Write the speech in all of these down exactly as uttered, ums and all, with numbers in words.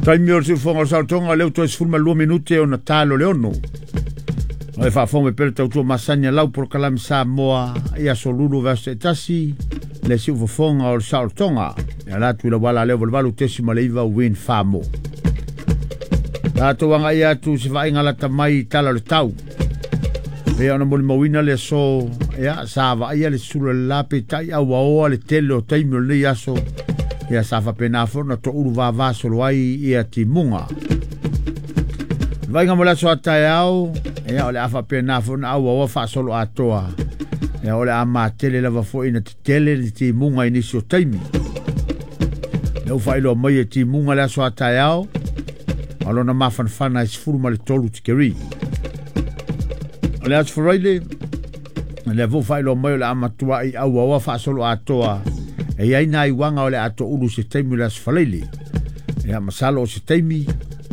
Taimi o le siufoga o le saolotoga lea ua toe sefulu ma lua minute ona talo le ono. O e faafofoga mai pea le tautua masani a lau polokalame Samoa i aso lulu vaiaso taitasi le siufofoga o le saolotoga. E ala atu i le auala lea valuvalu tesi ma le iva Win Famo. Tatou agai atu se vaaiga lata mai i tala o le tau. Pei ona molimauina le aso, ia, sa vaaia le sulu o le la peitai auaoa le tele o taimi o lenei aso. Ia sa faapena foi ona toulu vavasolo ai ia timuga. Vaaiga mo le aso a taeao, ia o le a faapena foi ona auaoa faasolo atoa. Ia o le a matele lava foi ina tetele le timuga i nisi o taimi. Lea ua faailoa mai e timuga le aso a taeao, ma lona mafanafana e sefulu ma le tolu tikeri. O le aso Faraile, lea foi ua faailoa mai o le a matuai auaoa faasolo atoa. E iai nai uaga o le a toulu se taimi o le aso Faraile. Ia masalo o se taimi,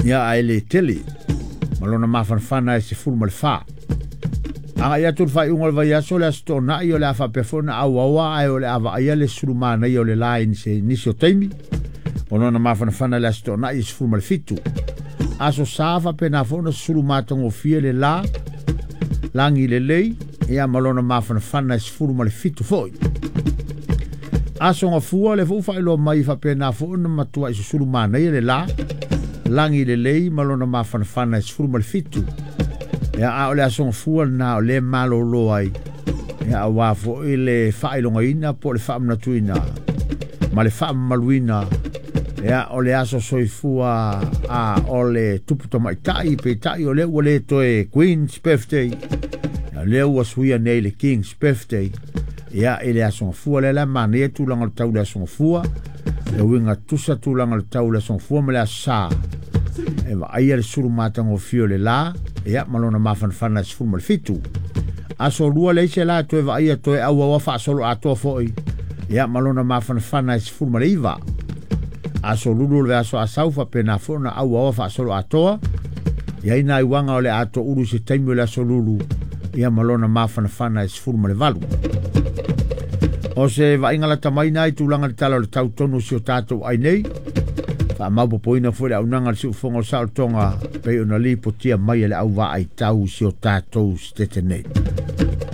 ia ae le tele. Ma lona mafanafana e sefulu ma le fa. Agai atu le faaiuga o le vaiaso le aso Toonai o le a faapea foi ona auaoa ae o le a vaaia le sulumanaia o le la i nisi o taimi. O lona mafanafana le aso Toonai e sefulu ma le fitu. Aso Sa faapena foi ona sulumatagofie le la, lagi lelei, ia ma lona mafanafana e sefulu ma le fitu foi. Aso Gafua le foi faailoa mai faapena foi ona matuai susulumanaia le la, lagi lelei ma lona mafanafana e sefulu ma le fitu. Ia a o le aso Gafua lena o le malolo ai, ia auā foi le faailogaina po o le faamanatuina ma le faamamaluina. Ia o le aso soifua a o le tupu tamaitai peitai o lea ua le toe Queen's Birthday. Ia lea ua suia nei le King's Birthday. Ia i le aso Gafua lea la manaia tulaga o le tau le aso Gafua. E uiga tusa tulaga o le tau le aso Gafua ma le aso Sa. E vaaia le sulumatagofie o le la, ia ma lona mafanafana e sefulu ma le fitu. Aso Lua le isi la toe vaaia toe auaoa faasolo atoa foi, ia ma lona mafanafana e sefulu ma le iva. Aso Lulu o le aso Asau faapena foi ona auaoa faasolo atoa. Ia i nai uaga o le a toulu se taimi o le aso Lulu, ia ma lona mafanafana e sefulu ma le valu. O se vaaiga lata mai na i tulaga le tala o le tau tonu si o tatou ai nei. Faamaupopoina foi le aunaga le siufoga o le saolotoga pei ona lipotia mai e le auvaai tau si o tatou setete nei.